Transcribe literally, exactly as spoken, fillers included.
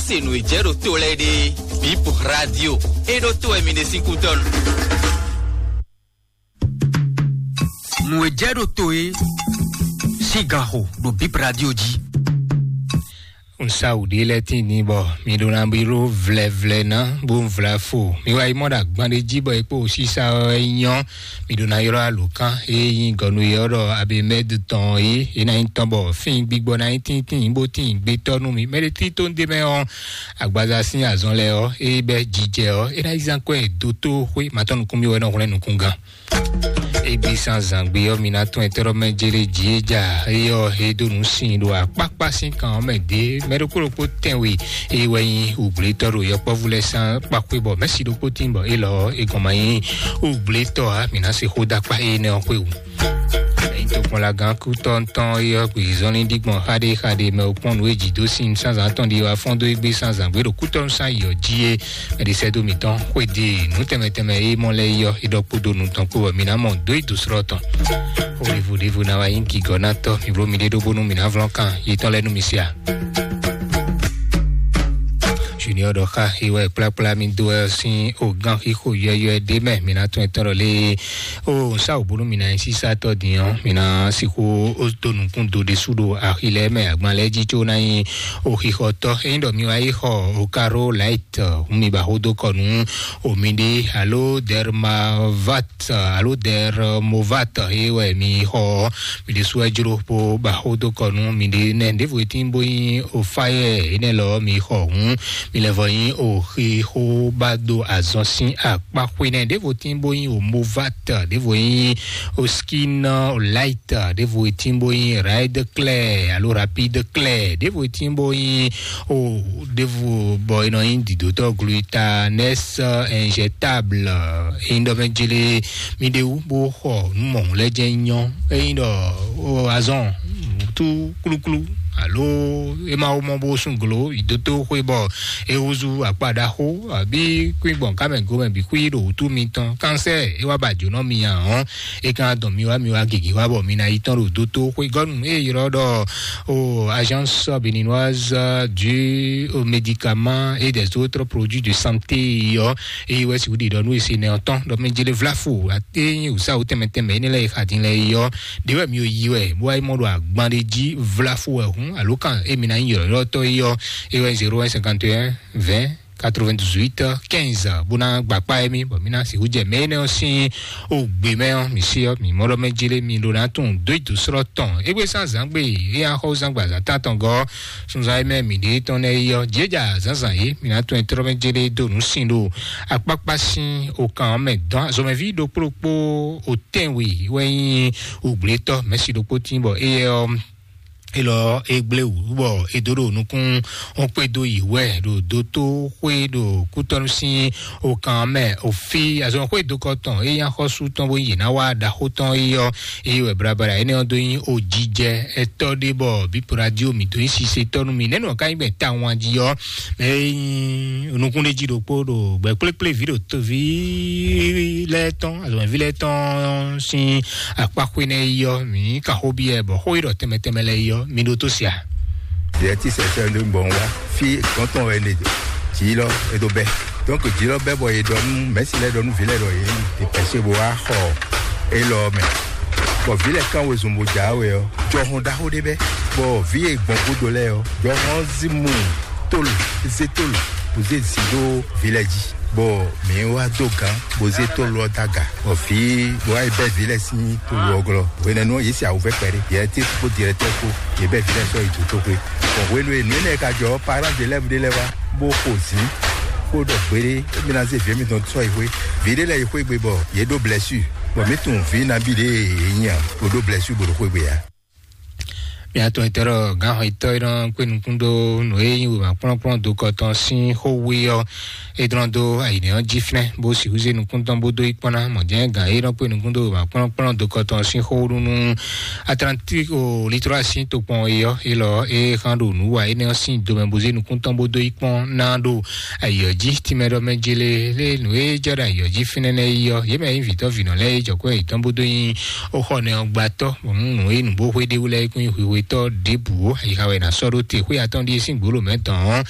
Se nǔ e jɛ ɖo to lɛ́ɛ ɖe, Bip Radio, é ɖó to wɛ mi ɖe sín kútɔ́ nu. Nǔ e jɛ ɖo to e sín gan xo ɖo Bip Radio jí. Un sa wǔ ɖé lɛ́ɛ tín din bɔ mi ɖó ná bí ɖó vlɛvlɛ ná bó un vla fo. Mi wá yi mɔ ɖo agban ɖé jí bɔ é kpo sísá ɔ́ é nyɔ́. Mi ɖó ná ylɔ́ alǒkan e nyí gɔ̌nu e ɔ́ ɖɔ Abimɛ́d tɔn é, é ná nyí tɔn bɔ fín gbígbɔ ná nyí tíntín bó tín gbétɔ́ nú mi. Mɛ ɖé tí tó ń ɖe mɛ ɔ́, agbaza sín azɔn lɛ́ɛ ɔ́, é bɛ́ jijɛ ɔ́, é ná yi zán kɔ́ ɛ dó tó xwé matɔ́ nukún mì wɛ nɔ hwlɛ́n nukúngán. Égbé sín azǎngbe ɔ́, mi ná tún ɛtɛ́ ɖɔ mɛ jélé jí é ja é ɔ́, é dó nǔ sin ɖo akpákpá sín kan ɔ́ mɛ dě. Mɛ ɖokpó ɖokpó tɛnwe é wɛ nyí wǔgblétɔ́ ɖo yɔkpɔ́vú lɛ́ɛ sín kpákpé bɔ mɛ̌si ɖokpó tín bɔ é lɔ ɔ́, é gɔn ma nyí wǔgblétɔ́ ǎ. Mǐ ná se xó dó akpá énɛ́ ɔ́ xwé wú. Ẹ̀yin tokpɔnlagán kútɔ́ntɔn é ɔ́, gbǐzɔ́nlín ɖígbɔn xáɖéxáɖé mɛ ò kpɔ́n nǔ e jǐ dó sín sázán tɔn ɖi wá fɔ́n dó égbé sázán gbé ɖo kútɔ́nú sán yi ɔ́ jí é. Mɛɖisɛ́dó mǐtɔn xwedó nǔ tɛnmɛ tɛnmɛ e mɔ lɛ́ɛ yi ɔ́, é ɖɔ kpódó nǔ tɔn kpó bɔ mǐ ná mɔ dó yi dǒ slɔ́ tɔn. Xó ɖěvo ɖěvo ná wá nyí gǐgɔ́nátɔ́, mǐ bló miɖée ɖó bónú mǐ ná vlɔ́n kan yětɔn lɛ́ɛ nú mi se a? Junior ɖɔ xá é wɛ kplákplá mì dó wɛ sín ogán xixo yɔyɔɛ ɖé mɛ, mǐ ná tún ɛtɔ́ ɖɔ lé. O, un sa wǔ bónú mǐ ná nyí sísátɔ́ din ɔ́, mǐ ná sixú dó nukún do ɖésú ɖo axi lɛ́ɛ mɛ agban lɛ́ɛ jí có ná nyí o xixɔtɔ́. Ényí ɖɔ mi wá yi xɔ o Caro Light, hǔn mi ba xó dó kɔ nú o miɖée alo Dermavat alo Dermovat é wɛ mi xɔ ɔ́, mi ɖésú wɛ jló bó ba xó dó kɔ nú miɖée nɛ́. Ɖěvo e tín bó nyí o fáyɛ énɛ́ lɔ ɔ́ mi xɔ hǔn, mi lɛ́ vɔ nyí o xixó ba dó azɔn sín akpá xwé nɛ́. Ɖěvo tín bó nyí o Movat, ɖěvo nyí o Skin Light, ɖěvo e tín bó nyí Ride Clear alo Rapide Clear, ɖěvo e tín bó nyí o ɖěvo bɔ è nɔ nyí dǐdótɔ́ Glutanex injectable. Ényí ɖɔ mɛ jlé mi ɖe wú bó xɔ nǔ mɔ̌hun lɛ́ɛ jɛ́n nyɔ́. Ényí ɖɔ o azɔn tú klúklú alo é ma wó mɔ bó sún glo yi dótó xwé bɔ é húzú akpa ɖaxó abí kú gbɔn kámɛ gomɛ bǐ xwí ɖo wútu mitɔn. Kánsɛ́ é wá ba jǒnɔ mi ǎ ɔ́, é ka dɔn mi wá mi wá gěgé wá bɔ mi ná yi tɔn ɖo dótó xwé gɔ́nu é ylɔ́ ɖɔ o Agence Béninoise du Médicament et des autres produits de santé ɔ́, eye wɛ si wúɖi ɖɔ nú ese nɛ ɔ́ tɔn ɖɔ mɛ jele vlafo ate nyi wǔsáwú tɛnmɛ tɛnmɛ énɛ́ lɛ́ɛ e xa din lɛ́ɛ yi ɔ́, ɖě wɛ mi yi wɛ bó wá yi mɔ ɖo agban ɖé jí vlafo wɛ hǔn alo kan émi ná nyí yɔ̌yɔ́tɔ́ yi ɔ́, é wɛ zéro un cinquante et un vingt quatre-vingt-dix-huit quinze bó ná gbakpá émí bɔ mí ná sixú jɛ mɛ énɛ́ ɔ́ sín ògbè mɛ ɔ́, mǐ sí ɔ́, mǐ mɔ ɖɔ mɛ jélé mi ɖó ná tunwun dó yi dǒ slɔ́ tɔn. Égbé sín azǎngbe e axɔ́ zán gba azǎn tántɔn gɔ́ sunzan e mɛ mǐ ɖe tɔn lɛ́ɛ yi ɔ́, jǐ é ja zǎnzǎn é, mǐ ná tunwun tlɔ́ mɛ jélé dó nǔ sin ɖo akpákpá sín okan ɔ́ mɛ dɔn azɔmɛví ɖokpó ɖokpó o tɛ́nwe wɛ nyí wǔgblétɔ́ mɛ̌si ɖokpó tín bɔ éyɛ́ ɔ́, élɔ́ é gblé wǔ bɔ é dó ɖo nukún ɔ́ kpé dó yi wɛ ɖo dótó xwé ɖo kútɔ́nú sín okan mɛ òfí azɔn xwé dó kɔ tɔn é nyí axɔ́sú tɔn bó yě ná wá ɖaxó tɔn é ɔ́, é wɛ blabla énɛ́ ɔ́ dó nyí ojijɛ ɛtɔ́ ɖé bɔ bípo radio mǐ dó nyí sisetɔ́ nú mi nɛ́nú ɔ́ ka nyí gbɛn tawun jí ɔ́, mɛ é nyí nukúnɖéjí ɖokpó ɖo gbɛ kplékplé vǐ ɖo tóví lɛ́ɛ tɔn azɔnví lɛ́ɛ tɔn sín akpáxwé nɛ́ yi ɔ́, mǐ ka xó byɔ́ bɔ xó e ɖɔ tɛnmɛ tɛnmɛ lɛ́ɛ yi ɔ́, mi ɖótó se a? Yɛ tí sɛsɛ ló ń bọ̀ wá fí gɔ́ntɔn wɛ lè jǐ lɔ é dó bɛ́. Donc jǐ lɔ bɛ́ bɔ è ɖɔ nú mɛ̌si lɛ́ɛ ɖɔ nú vǐ lɛ́ɛ ɖɔ yě yi è pɛ̌ bó wá xɔ élɔ́ mɛ. Bɔ vǐ lɛ́ɛ kán wezun bó jǎ we ɔ́, jɔhɔn ɖaxó ɖé bɛ́. Bɔ vǐ e gbɔn gúdo lɛ́ɛ ɔ́, jɔhɔn ɔ́ zí mú tólo, zé tólo, bó zé zǐ ɖó vǐ lɛ́ɛ jí. Bɔ mǐ wá dó gǎn bó zé tólo ɔ́ dó aga, bɔ vǐ bó wá yi bɛ́ vǐ lɛ́ɛ sín tólo ɔ́ glɔ́. Hwenɛ́nu ɔ́, yě se awǔvɛ́ kpɛɖé, yě tí kpó dirɛtɛ́ kpó, yě bɛ́ vǐ lɛ́ɛ sɔ́ yi dotóxwé. Bɔ hwenu e nǔ énɛ́ ka jɔ ɔ́, parán ɖé lɛ́ɛ ɖé lɛ́ɛ wá bó xo zǐn, bó ɖɔ gbeɖé émí ná zé vǐ émítɔn sɔ́ yi xwé. Vǐ ɖé lɛ́ɛ yi xwé gbe bɔ yě ɖó blɛ́sú, bɔ mǐ tunwun vǐ nabí ɖě e yě nyí ǎ, bó ɖó blɛ́sú bó ɖo xwé gbe ǎ. Mía tɔn itɔ́ ɖɔ gǎnxɔyítɔ́ e nɔ kpé nukún dó nǔ e nyí wěma kplɔ́nkplɔ́n dokɔ tɔn sín xó wé ɔ́, é dlɔ́n dó ayǐnɛ́ ɔ́ jí fínɛ́, bó sixú zé nukún tɔn bó dó yi kpɔ́n ná. Mɔ̌ jɛ́n gǎn e nɔ kpé nukún dó wěma kplɔ́nkplɔ́n dokɔ tɔn sín xó ɖu nú Atlantique o Littoral sín tokpɔn é ɔ́, é lɔ é xán ɖo nǔ wa énɛ́ ɔ́ sín domɛ bó zé nukún tɔn bó dó yi kpɔ́n ná ɖo ayǐ ɔ́ jí. Tínmɛ ɖɔ mɛ jélé lé nǔ e jɛ ɖo ayǐ ɔ́ jí fínɛ́ nɛ́ yi ɔ́, yě mɛ nyí vǐtɔ́ vǐnɔ lɛ́ɛ e jɔ̌ kɔ́ yětɔn bó dó nyí ó xɔ nɛ ɔ́ gbatɔ́, bɔ nú nǔ e nǔ bó xwé ɖé wú lɛ́ɛ é kún nyí hwihwetɔ́ ɖěbǔ ó. Ayixa wɛ è nǎ sɔ́ ɖó te xwé atɔ́ ɖíe sín gbǒ mɛ dɔn ɔ́,